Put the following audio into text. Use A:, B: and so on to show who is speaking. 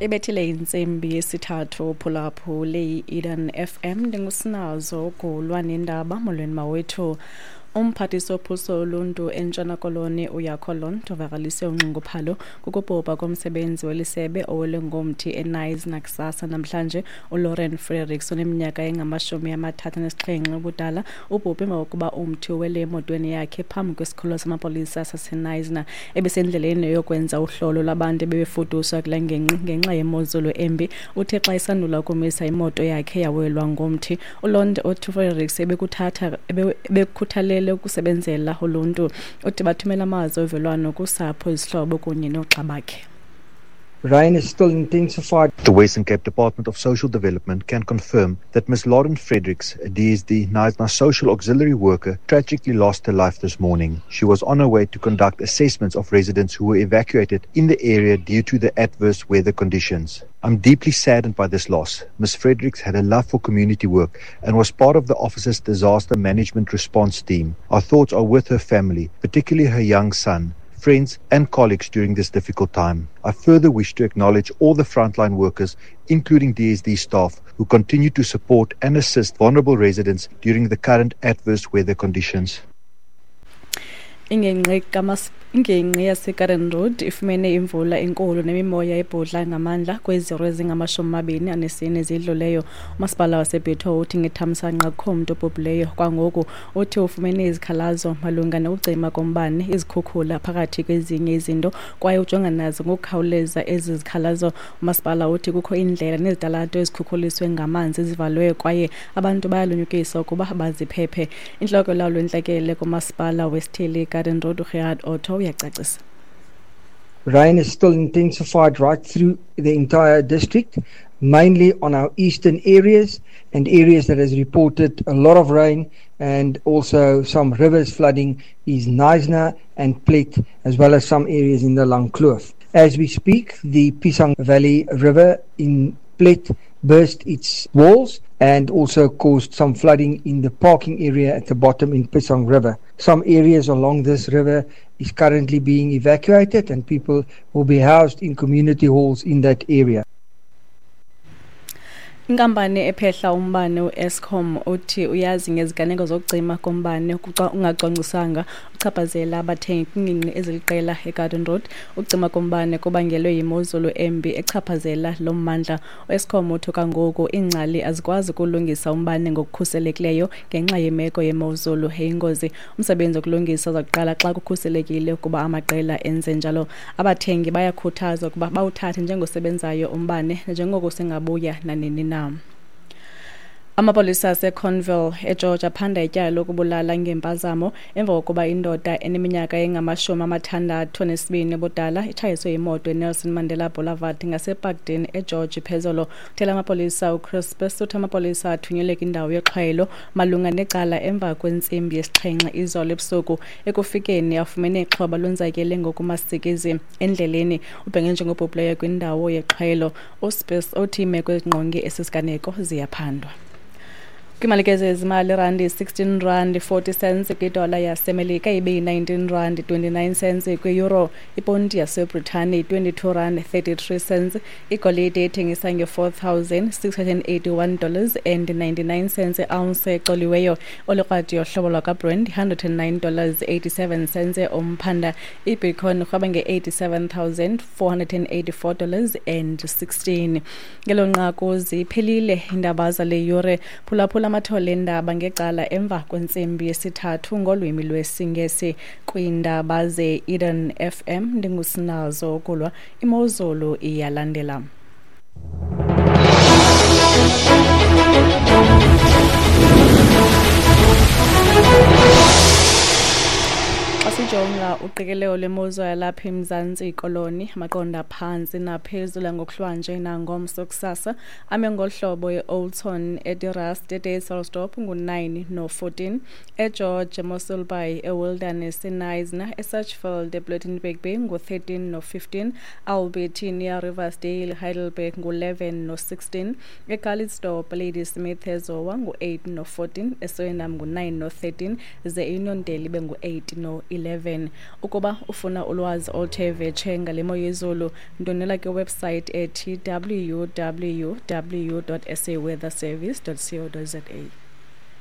A: Ibethile intsimbi yesithathu. Phulaphule i-Eden FM, ndingusinazo gulwa nendaba. Molweni mawethu. Umphathiswa wophuhliso oluntu eNtshona Koloni uYakho Londt uvakalise unxunguphalo kukubhubha komsebenzi welisebe owelwe ngomthi eKnysna kusasa namhlanje. ULauren Fredericks oneminyaka engama-37 ubudala ubhubhe emva kokuba umthi uwele emotweni yakhe phambi kwesikhululo samapolisa saseKnysna. Ebesendleleni yokwenza uhlolo lwabantu ebebefuduswa kule ngingqi ngenxa yemozulu embi. Uthe xa isandula ukumisa imoto yakhe yawelwa ngomthi. ULondt uthi uFredericks ebekukhuthalele ukusebenzela uluntu. Uthi bathumela amazwi ovelwano kusapho, izihlobo kunye noogxa bakhe.
B: Rain is still intensified.
C: The Western Cape Department of Social Development can confirm that Ms. Lauren Fredericks, a DSD Knysna social auxiliary worker, tragically lost her life this morning. She was on her way to conduct assessments of residents who were evacuated in the area due to the adverse weather conditions. I'm deeply saddened by this loss. Ms. Fredericks had a love for community work and was part of the office's disaster management response team. Our thoughts are with her family, particularly her young son, friends and colleagues during this difficult time. I further wish to acknowledge all the frontline workers, including DSD staff, who continue to support and assist vulnerable residents during the current adverse weather conditions.
A: Ingingqi yaseGarden Road ifumene imvula enkulu nemimoya ebhudla ngamandla kwezi 24 zidluleyo. Umasipala waseBitou uthi ngethamsanqa akukho mntu obhubhileyo kwangoku. Uthi ufumene izikhalazo malunga nokucima kombane, izikhukhula phakathi kwezinye izinto, kwaye ujonga nazo ngokukhawuleza ezi zikhalazo. Umasipala uthi kukho iindlela nezitalato ezikhukhuliswe ngamanzi ezivalwe kwaye abantu bayalunyukiswa ukuba baziphephe. Intloko yolawulo lwentlekele kumasipala wesithili iGarden Road, uGerhard Otto, uyacacisa.
B: Rain is still intensified right through the entire district, mainly on our eastern areas and areas that has reported a lot of rain and also some rivers flooding is Knysna and Plet, as well as some areas in the Langkloof. As we speak, the Pisang Valley River in Plet burst its walls and also caused some flooding in the parking area at the bottom in Pisang River. Some areas along this river is currently being evacuated and people will be housed in community halls in that area.
A: Inkampani ephehla umbane uEskom uthi uyazi ngeziganeko zokucima kombane ungacwangciswanga uchaphazela abathengi kwiingingqi eziliqela eGarden Road. Ukucima kombane kubangelwe yimozulu embi echaphazela lo mmandla. UEskom uthi kwangoku iingcali azikwazi ukulungisa umbane ngokukhuselekileyo ngenxa yemeko yemozulu eyingozi. Umsebenzi wokulungisa uza kuqala xa kukhuselekile ukuba amaqela enze njalo. Abathengi bayakhuthazwa ukuba bawuthathe njengosebenzayo umbane njengoko singabuya nanini na. Amapolisa aseConville eGeorge aphanda ityala lokubulala ngempazamo emva kokuba indoda eneminyaka engama-62 ubudala itshayiswe yimoto eNelson Mandela Boulevard ngaseParkdene eGeorge phezolo. Uthela amapolisa uChris uthi amapolisa athunyelwe kwindawo yexhwayelo malunga necala emva kwentsimbi yesixhenxe izolo ebusuku. Ekufikeni afumene ixhoba lonzakele ngokumasikizi endleleni, ubhenge njengobhubhileyo kwindawo yexhwayelo. USpies uthi iimeko ezingqonge esi siganeko ziyaphandwa. Kwiimali ke zezimali, irandi 16 rand 40 cents kwidola yaseMelika, ibe yi-19 rand 29 cents kwi-euro, iponti yaseBritane 22 rand 33 cents, igolide ethengisa nge-$4,681 and 99 cents ounce ecoliweyo, olukrwadi yohlobo lwakwaBrent $109 87 cents umphanda, ibitcoin irhweba nge-$87,484 and 16. Ngelo nqaku ziphelile iindaba zale yure. Phulaphula amathole endaba ngecala emva kwentsimbi yesithathu ngolwimi lwesiNgesi kwiindaba ze-Eden FM. Ndingusinazo kulwa. Imozulu iyalandela. Xa sijonga uqikelelo lwemozulu yalapha eMzantsi Koloni, amaqondo aphantsi naphezulu ngokuhlwanje nangomso kusasa ame ngolu hlobo: eOldton, eDe Rust, eDysselsdorp ngu-9 no-14, eGeorge, eMossel Bay, eWilderness, eKnysna, eSachsfield, ePlettenberg Bay ngu-13 no-15, Albertinia, Riversdale, Heidelberg ngu-11 no-16, eCalitzdorp, Ladysmith, eZowa ngu-8 no-14, eSwellnum ngu-9 no-13, ze eUniondale ibe ngu-8 no-11. 11. Ukuba ufuna ulwazi oluthe vetshe ngale mo yezulu, ndwendwela kwiwebsite ethi www.saweatherservice.co.za.